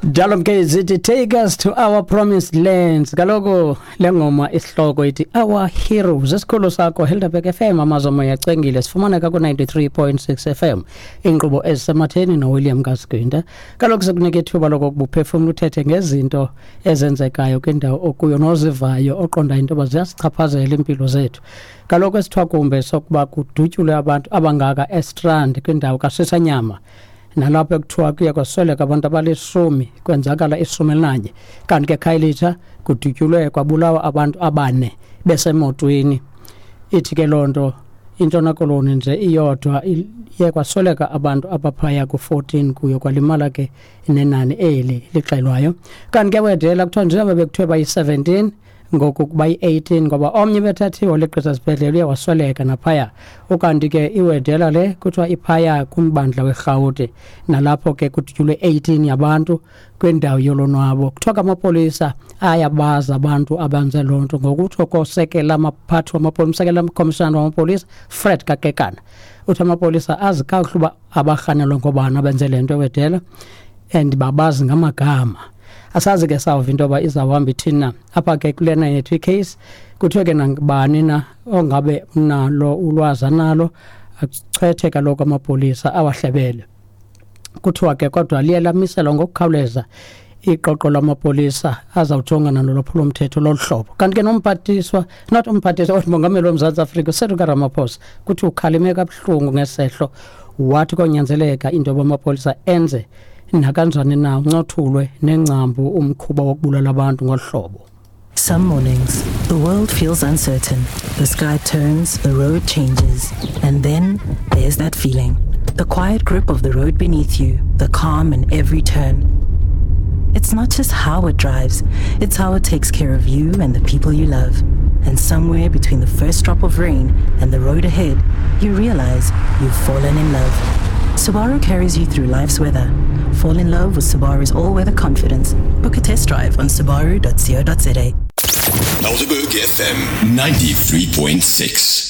Njalo ke zithi, "Take us to our promised lands." Kaloku le ngoma isihloko ithi "Our Heroes". Esikhulu sakho Helderberg FM, amazomo yacengile, sifumaneka ku-93.6 FM, inkqubo ezisematheni noWilliam Kasgwinta. Kaloku sikunika ithuba lokokuba uphefumla, uthethe ngezinto ezenzekayo kwindawo okuyo nozivayo, oqonda into yoba ziyasichaphazela iimpilo zethu. Kaloku esithwakumbe sokuba kudutyulwe abantu abangaka eStrand kwindawo kaSisanyama, nalapho ekuthiwa kuye kwasweleka abantu abalishumi, kwenzakala 11, kanti ke Khayelitsha kudutyulwe kwabulawa abantu abane besemotweni. Ithi ke loo nto iNtshona Koloni nje iyodwa iye kwasweleka abantu abaphaya ku-14, kuyo kwalimala ke nenani eli lixelwayo. Kanti ke wedela kuthiwa njengoba bekuthiwe bayi-17, ngoku bayi-18, ngoba omnye bethathiwe ligqisa sibhedlele, uye wasweleka naphaya. Ukanti ke iwedela le kuthiwa iphaya kumbandla weRhawuti, nalapho ke kudutyulwe 18 yabantu kwindawo yolonwabo. Kuthiwa ke amapolisa ayabazi abantu abenze loo nto, ngokutsho kosekela amaphathi wamapolisa, umsekela mkhomishana wamapolisa Fred Kakekana. Uthi amapolisa azi kakuhle uba abarhanelwa ngobani abenze le nto ewedela and babazi ngamagama. Asazi ke, sawuva into yoba izawuhamba ithini na. Apha ke kulena yethu icase kuthiwe ke nangubani na ongabe unalo ulwazi analo achwethe kaloku amapolisa awahlebele. Kuthiwa ke kodwa liye lamiselwa ngokukhawuleza iqoqo lamapolisa azawujongana nolwaphulomthetho lolu hlobo. Kanti ke nomphathiswa, not umphathiswa, umongameli woMzantsi Afrika uCyril Ramaphosa kuthi ukhalime kabuhlungu ngesehlo, wathi konyanzeleka into yoba amapolisa enze nakanjani na uncothulwe nengcambu umkhuba wokubulala abantu ngolu hlobo. Some mornings, the world feels uncertain. The sky turns, the road changes, and then there's that feeling. The quiet grip of the road beneath you, the calm in every turn. It's not just how it drives, it's how it takes care of you and the people you love. And somewhere between the first drop of rain and the road ahead, you realize you've fallen in love. Subaru carries you through life's weather. Fall in love with Subaru's all-weather confidence. Book a test drive on subaru.co.za. Helderberg FM 93.6.